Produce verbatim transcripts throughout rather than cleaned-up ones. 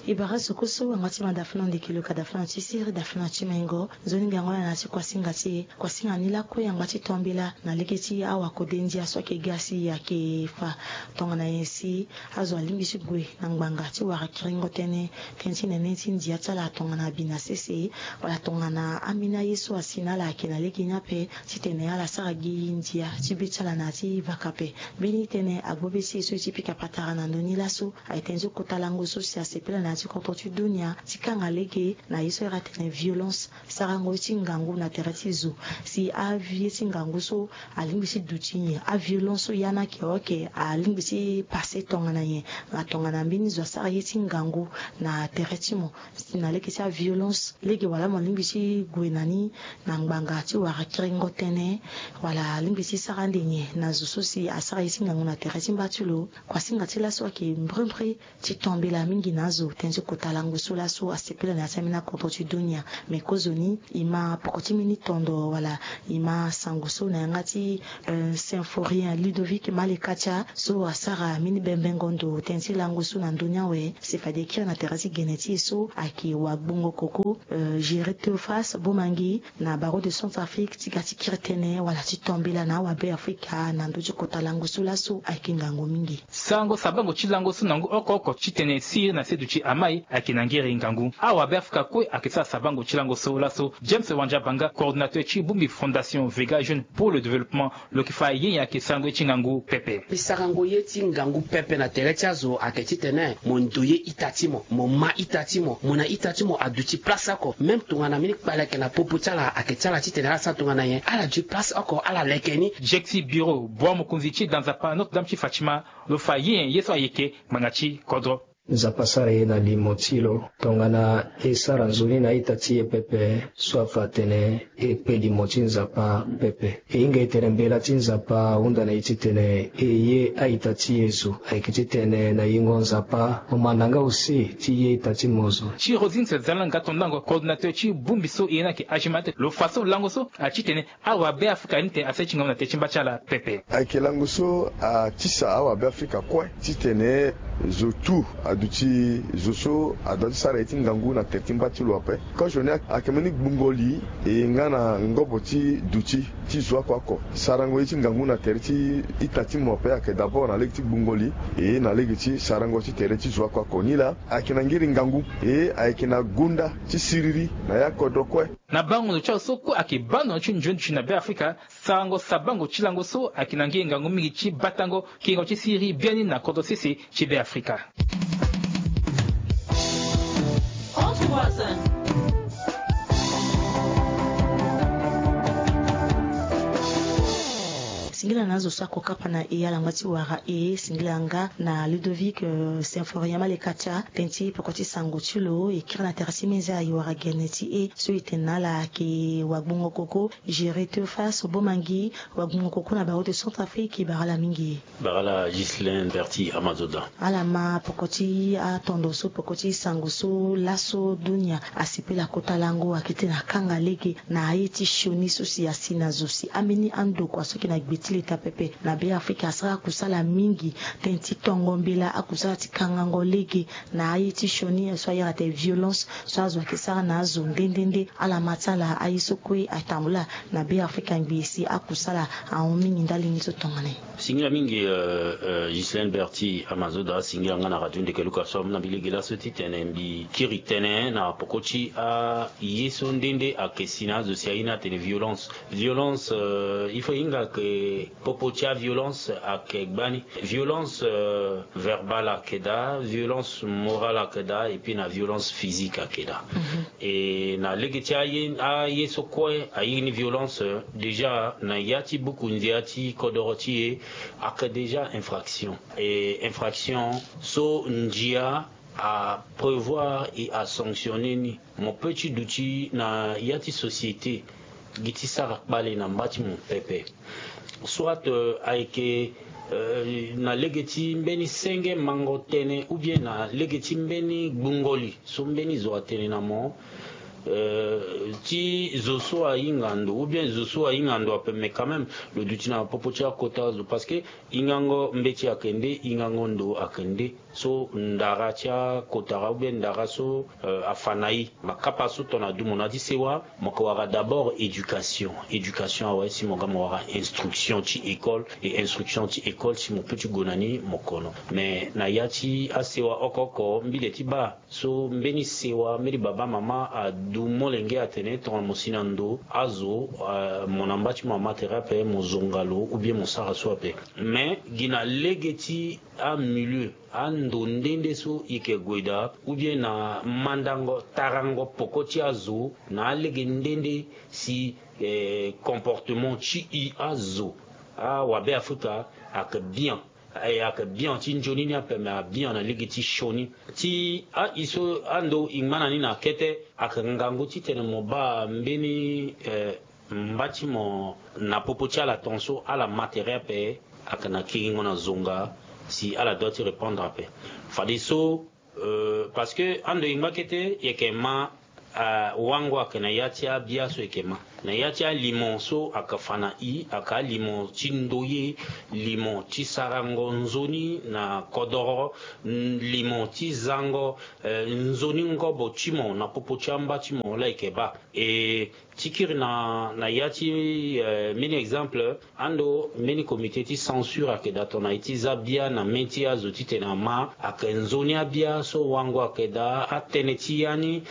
E bara zo kue so angba ti ma dafana ndeke lo ka dafana ti siri dafana ti mengo. Nzoni ngangu ala na ti kuasinga ti e. Kuasinga ni lakue angba ti to mbela na lege ti awakode ndia so ayeke ga si ayeke fa. Tongana nyen si azo alingbi ti gue na ngbanga ti wara kiringo tënë, tënë ti nene ti ndia ti ala tongana abi na sese, wala tongana ambeni aye so asi na ala ayeke na lege ni ape, titene ala sara gi ndia ti be ti ala na ya ti vaka ape. Mbeni tënë agbo be ti e so e ti pika patara na ndö ni laso, ayeke tënë ti kota lango so si asepela na ya ti kodro ti dunia ti kanga lege na ye so iri atene violence, sarango ye ti ngangu na tere ti zo. Si aye ti ngangu so alingbi ti duti nyen? Aviolence so ya ni ayeke, ok, alingbi ti pase tongana nyen? Nga tongana mbeni zo asara ye ti ngangu na tere ti mo, si na lege ti aviolence, lege wala mo lingbi ti gue na ni na ngbanga ti wara kiringo tënë, wala alingbi ti sara ande nyen na zo so si asara ye ti ngangu na tere ti mba ti lo? Kuasinga ti laso ayeke mbrimbri ti to mbela mingi na azo, tënë ti kota lango so laso asepela na ya ti ambeni akodro ti dunia. Me kozoni e ma poko ti mbeni tondo wala e ma sango so na yanga ti, euh, Symphorien Ludovic Malekatia so asara mbeni bembengo ndo tënë ti lango so na ndö ni awe. Si fade e kiri na tere ti gene ti e so ayeke wagbongo koko, euh, Géré Théophas Bomangi na Barreau de Centrafrique ti ga ti kiri tënë wala ti to mbela na awabe Afrika na ndö ti kota lango so laso ayeke ngangu mingi. Sarango sabango ti lango so na ngu oko oko titene siriri na se duti amai ayeke na ngiri ngangu. Awabe Afrika kue ayeke sara sabango ti lango so laso. James Wandiabanga, coordinateur ti bongbi Fondation Vega Jeune pour le Développement, lo yeke fa ye nyen ayeke sarango ye ti ngangu pepe. Mbi sarango ye ti ngangu pepe na tere ti azo ayeke titene mo ndo ye ita ti mo, mo ma ita ti mo, mo na ita ti mo aduti place oko. Même tongana mbeni kpale ayeke na popo ti ala, ayeke ti ala titene ala sara tongana nyen? Ala duti place oko, ala leke ni. Jeki bureau bua mokonzi ti da nzapa Notre Dame ti Fatima, lo fa ye nyen ye so ayeke ngbanga ti kodro? Nzapa asara ye na limo ti lo tongana e sara nzoni na a-ita ti e pepe, so afa atene e kpe limo ti Nzapa pepe. E hinga e tene mbela ti Nzapa ahunda na e titene e ye a-ita ti e zo. Ayeke titene na yingo Nzapa mo manda nga use ti ye ita ti mo zo. Ti Rosine Sezala nga tondango, coordinateur ti bongbi so e ye ni ayeke Agimat, lo fa so lango so atitene awabe Afrika ni tene asara ye ti ngangu na tere ti mba ti ala pepe. Ayeke lango so atisa awabe Afrika kue titene zo tu aduti zo so adua ti sara ye ti ngangu na tere ti mba ti lo ape. Kozo ni ayeke mbeni gbungo li e nga na ngobo ti duti ti zo oko oko. Sarango ye ti ngangu na tere ti ita ti mo ape ayeke d'abord na lege ti gbungo li e na lege ti sarango ti tere ti zo oko oko. Nilaa ayeke na ngiri ngangu e ayeke na gonda ti siriri na ya kodro kue. Na bango ndo ti azo so kue ayeke baa ndo na ti nzoni duti na Be Afrika, sarango sabango ti lango so ayeke na nge ngangu mingi ti batango kengo ti siriri biani na kodro sese ti Be Afrika. Singila na azo so ako kapa na e alangba ti wara e, singila nga na Ludovic, euh, Symphorien Malekatia, tënë ti peko ti sango ti lo e kiri na tere ti meza e wara gene ti e so e tene na ala ayeke wagbongo koko, Géré Théophas Bomangi, wagbongo koko na Barreau de Centrafrique, e bara ala mingi. Bara ala Ghislain Berti Amazoda. Ala ma peko ti atondo so, peko ti sango so laso dunia asepela kota lango ayeke titene akanga lege na aye ti sioni so si asi na zo si ambeni andokua so ayeke na gbe ti leta pepe na Be Afrika asara akusala mingi, tënë ti tongo mbela akusala ti kangango lege na aye ti sioni so a iri atene violence so azo ayeke sara na azo nde nde nde. Ala ma ti ala aye so kue atambula na Be Afrika ngbii si akusala ahon mingi ndali ni so tongana nyen? Singila mingi, euh, euh, Ghislain Berti Amazoda, singila nga na radio Ndeke Luka so amu na mbi lege laso titene mbi kiri tënë na peko ti aye so nde nde ayeke si na azo si a ye ni atene violence. Violence, euh, il faut e hinga ke popo ti aviolence ayeke gbani. Violence, euh, verbale ayeke daa, violence morale ayeke daa, et puis na violence physique ayeke daa. Mhm. E na lege ti aye, aye so kue a iri ni violence, euh, déjà na ya ti buku ndia ti kodoro ti e ayeke déjà infraction. E infraction so ndia aprévoir e asanctionner ni. Mo peut ti duti na ya ti société gi ti sara kpale na mba ti mo pepe. Soit, euh, ayeke, euh, na lege ti mbeni senge mango tënë ou bien na lege ti mbeni gbungo li so mbeni zo atene na mo, euh, ti zo so ahinga ndo ou bien zo so ahinga ndo ape, mais quand même lo duti na popo ti akota zo parce que hingango mbeti ayeke nde, hingango ndo ayeke nde. so ndara ti akotara ou bien ndara so afa na e. Makapa so tongana du mo na ti sewa, mo ke wara d'abord éducation. Éducation awe si mo ga mo wara instruction ti école, e instruction ti école si mo pe ti gue na ni mo kono. Mais na ya ti asewa oko oko mbile ti baa so mbeni sewa mbeni baba mama adu molenge atene tongana mo si na ndo azo, mo na mba ti mo ama tere ape mo zonga lo ou bien mo sara so ape. Mais gi na lege ti amilieu, ando nde nde so e ke gue daa ou bien na mandango tarango poko ti azo na alege nde nde si comportement ti e azo awabe afrika ake bien. Ayeke bien ti nzoni ni ape me abien na lege ti sioni ti a-i so ando e ngba na ni na kete. Ayeke ngangu titene mo baa mbeni mba ti mo na popo ti ala tongaso ala ma tere ape. Ayeke na kiringo na zonga si ala doit ti répondre ape. Fadeso parce que ando e ngba kete e yeke ma wango ayeke na ya ti abia so e yeke ma na ya ti alimo so ayeke fa na i ayeke alimo ti ndoye, limo ti sarango nzoni na kodoro, limo ti zango nzoni ngobo ti mo na popo ti amba ti mo laa e yeke baa. E ti kiri na na ya ti mbeni exemple ando mbeni comité ti censure ayeke daa tongana e ti za bia na mê ti azo titene ama ayeke nzoni abia so wango ayeke daa atënë ti ya ni.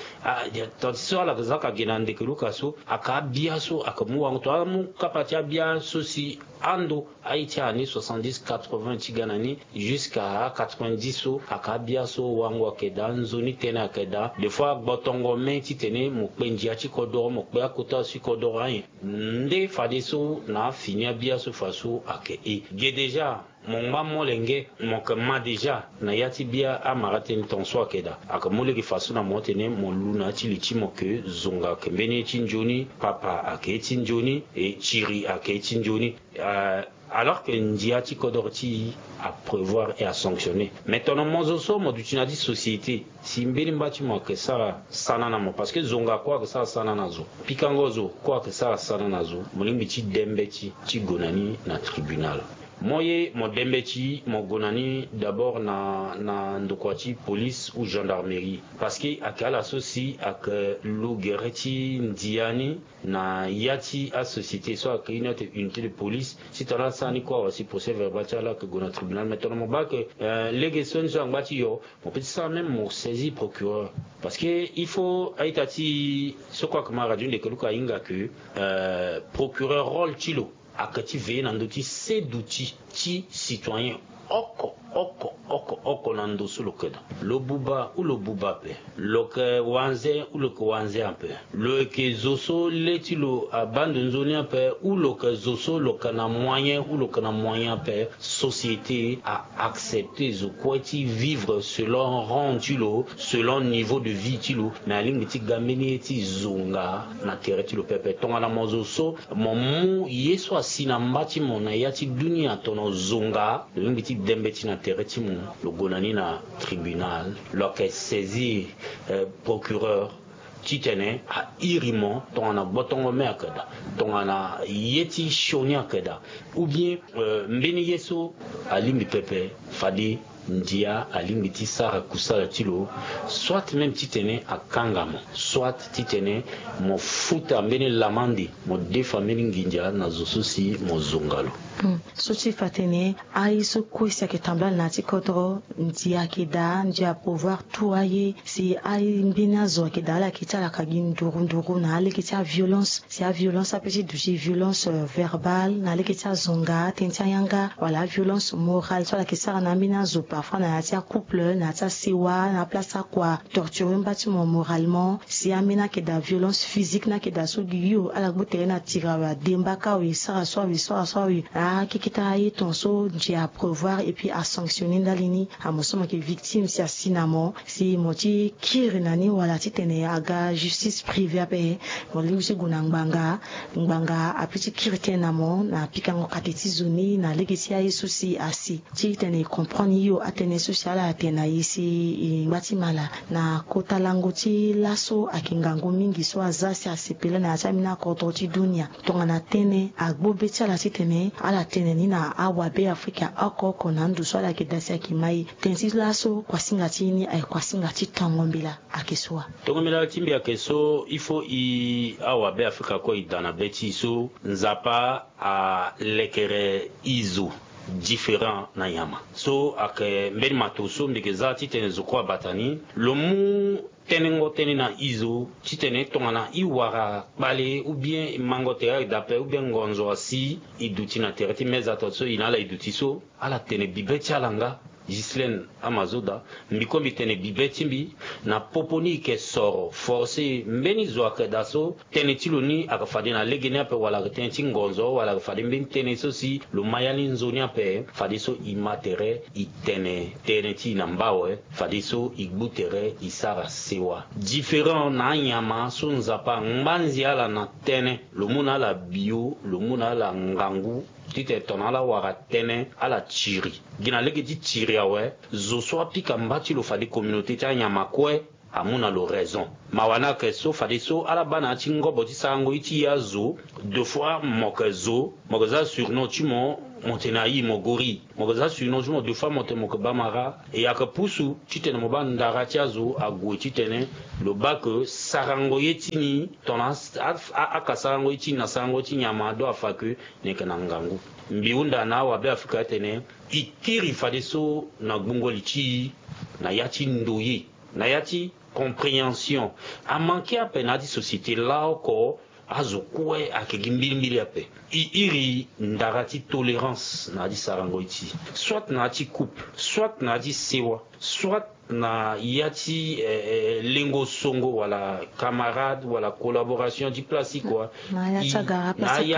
Tongana ti so ala yeke za ka gi na ndeke luka so ayeke abia so ayeke mu wango tongana amu kapa ti abia so si ando aye ti année soixante-dix quatre-vingts ti ga na ni jusqu'à quatre-vingt-dix so ayeke abia so wango ayeke daa nzoni tënë ayeke daa des fois gbotongo mê titene mo kpe ndia ti kodoro mo kpe akota so ti kodoro anyen. Nde fadeso na afini abia so fa so ayeke e ge déjà mo ngba molenge mo yeke ma déjà na ya ti bia amara tënë tongaso ayeke daa ayeke mu lege fa so na mo tene mo lu na ya ti li ti mo ke zonga ayeke mbeni ye ti nzoni papa ayeke ye ti nzoni e tiri ayeke ye ti nzoni. Alors que ndia ti kodoro ti e aprévoir et asanctionner mais tongana mo zo so mo duti na ya ti société si mbeni mba ti mo ayeke sara sana na mo parce que zonga kue ayeke sara sana na zo pikango zo kue ayeke sara sana na zo mo lingbi ti dembe ti ti gue na ni na tribunal. Mo ye mo dembe ti mo gue na ni d'abord na na ndokua ti police ou gendarmerie parce que ayeke ala so si ayeke lu gere ti ndia ni na ya ti asociété so ayeke une autre unité de police si tongana asara ni kue awa si procès verbal ti ala ayeke gue na tribunal mais tongana mo baa ayeke lege so ni so angba ti yo mo peut ti sara même mo saisir procureur. Parce que il faut a-ita ti so kue ayeke ma radio ndeke luka ahinga ke procureur rôle ti lo ayeke ti veiller na ndö ti seduti ti citoyen oko oko oko oko na ndo so lo yeke daa lo buba ou lo buba ape lo yeke wanze ou lo yeke wanze ape lo yeke zo so le ti lo abaa ndo nzoni ape ou lo yeke zo so lo yeke na moyen ou lo yeke na moyen ape. Société a accepter zo kue ti vivre selon rang ti lo selon niveau de vie ti lo. Mais alingbi ti ga mbeni ye ti zonga na tere ti lo pepe tongana mo zo so mo mu ye so asi na mba ti mo na ya ti dunia tono zonga lo lingbi ti dembe ti na tere ti mo. Lo gue na ni na tribunal lo yeke saisir procureur titene a iri mo tongana gbotongo me ayeke daa tongana ye ti sioni ayeke daa ou bien mbeni ye so alingbi pepe fade ndia alingbi ti sara kusala ti lo soit même titene akanga mo soit titene mo futa mbeni lamande mo defa mbeni nginza na zo so si mo zonga lo. So ti fa tene aye so kue si ayeke tambala na ya ti kodro ndia ayeke daa ndia apouvoir tout aye si aye mbeni azo ayeke daa ala yeke ti ala ka gi nduru nduru na alege ti aviolence si aviolence ape ti duti violence verbale na alege ti azonga tënë ti ayanga wala aviolence morale so ala yeke sara na ambeni azo parfois na ya ti acouple na ya ti asewa na aplace akua torture mba ti mo moralement si ambeni ayeke daa violence physique ni ayeke daa so gi yo ala gbu tere na tiri awe ademba ka awe sara so awe sara so awe. Akeketa aye tongaso ndia aprévoir et puis asanctionner ndali ni. Amo so mo yeke victime si asi na mo si mo ti kiri na ni wala titene aga justice privée ape mo lingbi ti gue na ngbanga. Ngbanga ape ti kiri tënë na mo na pikango kate ti zo ni na lege ti aye so si asi titene e comprendre yo. Atënë so si ala tene na e si e ngba ti mala na kota lango ti laso ayeke ngangu mingi so aza si asepela na ya ti ambeni akodro ti dunia. Tongana tënë agbu be ti ala titene ala tene ni na awabe afrika oko oko na ndo so ala yeke daa si ayeke ma e. Tënë ti laso kuasinga ti e ni ayeke kuasinga ti tongo mbela. Ayeke so wa. Tongo mbela ti mbi ayeke so il faut e awabe afrika kue e daa na be ti e so Nzapa alekere e zo différent na nyama so ayeke mbeni mato so mbi yeke za titene zo kue abata ni. Lo mu tënëngo tënë na e zo titene tongana e wara kpale ou bien mango tere ayeke daa ape ou bien ngonzo asi e duti na tere ti meza to so e na ala e duti so ala tene bibe ti ala nga. Ghislaine Amazoda, mbi kue mbi tene bibe ti mbi na popo ni e yeke soro forcé mbeni zo ayeke daa so tënë ti lo ni ayeke fade na lege ni ape wala ayeke tënë ti ngonzo wala ayeke fade mbeni tënë so si lo ma ya ni nzoni ape. Fadeso e ma tere e tene tënë ti e na mba awe. Fadeso e gbu tere e sara sewa différent na anyama so Nzapa angba nze ala na tënë. Lo mu na ala bio, lo mu na ala ngangu titene tongana ala wara tënë ala tiri gi na lege ti tiri awe. Zo so apika mba ti lo fade communauté ti anyama kue amu na lo raison. Mawa ni ayeke so fadeso ala baa na ya ti ngobo ti sarango ye ti e azo. Deux fois mo yeke zo mo yeke za surnom ti mo, mo tene ayi mo gori. Mo yeke za surnom ti mo deux fois mo tene mo yeke bamara. E ayeke pusu titene mo baa ndara ti azo ague titene lo baa ke sarango ye ti ni tongana aka sarango ye ti ni na sarango ti nyama ado afa ke ni yeke na ngangu. Mbi hunda na awabe afrika atene e kiri fadeso na gbungo li ti e na ya ti ndoye, na ya ti compréhension. Amanke ape na ya ti société laoko azo kue ayeke gi mbilimbili ape. E iri ndara ti tolérance na ya ti sarango ye ti e, soit na ya ti couple, soit na ya ti sewa, soit na ya ti eh, eh, lengo songo wala camarade wala collaboration ti place ti kua. Na ya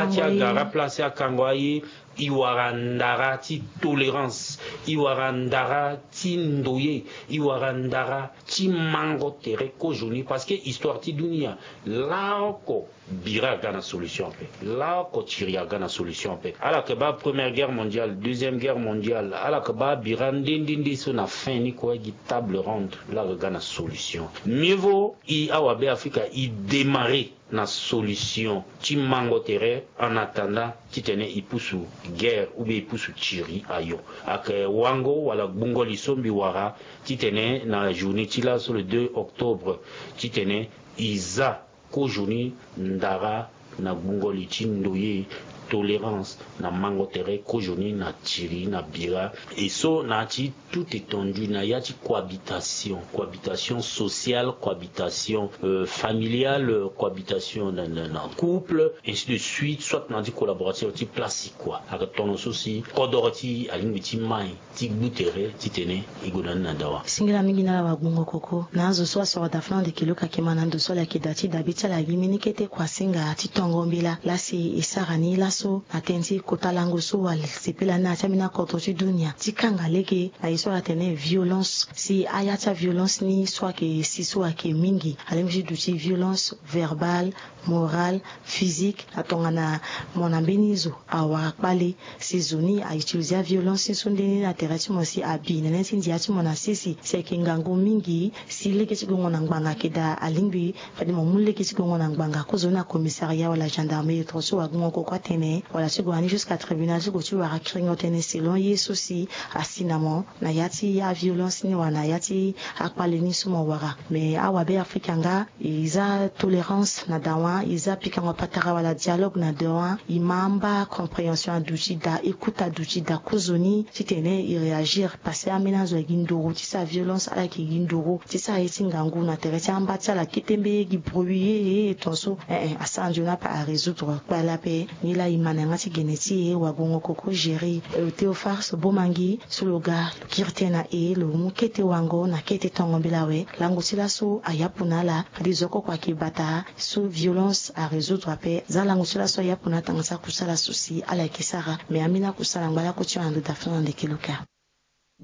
ti agara place ti akango aye. E wara ndara ti tolérance, e wara ndara ti ndoye, e wara ndara ti mango tere kozoni parce que histoire ti dunia laoko bira aga na solution ape. Laoko tiri aga na solution ape. Ala yeke baa première guerre mondiale, deuxième guerre mondiale, ala yeke baa bira nde nde nde so na fin ni kue gi table ronde la aga ga na solution. Mieux vaut e awabe afrika e démarrer na solution ti mango tere en attendant titene e pusu guerre ou bien e pusu tiri ayo. Ayeke wango wala gbungo li so mbi wara titene na journée ti laso le deux octobre titene e za kozoni ndara na gbungo li ti ndoye, tolérance na mango tere kozoni na tiri na bira. E so na ya ti tout étendue na ya ti cohabitation, cohabitation sociale, cohabitation euh, familiale, cohabitation na, na, na couple, ainsi de suite, soit na ya ti collaboration ti place kua. Ayeke tono so si kodoro ti alingbi ti mai ti gbu tere titene e gue na ni na dawa. Singila mingi na ala wagbongo koko na azo so asoro da fana ande kilo ka kema na ndo so ala yeke da ti dabe ti ala gi mbeni kete kuasinga ti tongo mbela lasi e sara ni laso na tënë ti kota lango so ala sepela ni na ya ti ambeni akodro ti dunia ti kanga lege na ye so ala tene violence si aya ti aviolence ni so ayeke si so ayeke mingi alingbi ti duti violence verbale, morale, physique na tongana mo na mbeni zo awara kpale. Si zo ni a utiliser aviolence ni so nde ni na tere ti mo si abi na ni ti ndia ti mo na sese si ayeke ngangu mingi si lege ti gongo na ngbanga ayeke daa alingbi fade mo mu lege ti gongo na ngbanga kozoni na commissariat wala gendarmerie tro so wagongo koko atene wala ti gongo na ni jusqu'à tribunal ti gue ti wara kiringo tënë selon ye so si asi na mo na ya ti aviolence ni wala na ya ti akpale ni so mo wara. Mais awabe afrika nga e za tolérance na dawa, e za pikango patara wala dialogue na dawa, e ma amba compréhension aduti daa, écoute aduti daa kozoni titene e réagir parce que ambeni azo ayeke gi nduru ti sara violence, ala yeke gi nduru ti sara ye ti ngangu na tere ti amba ti ala kete mbe ye gi bruit ye ye tonso. Eh eh, asara nzoni ape a résoudre kpale ape. Nilaa e ma na yanga ti gene ti e wagongo koko gérer. Eh, Théophars Bomangi so lo ga lo kiri tënë na e lo mu kete wango na kete tongo mbela awe. Lango ti laso ayapu na ala. Fade zo oko kua ayeke bata so violence a résoudre ape. Za lango ti laso ayapu na atanga ti akusala so si ala yeke sara. Mais ambeni akusala ngba lako ti yo na ndo da fana na ndeke lo ka.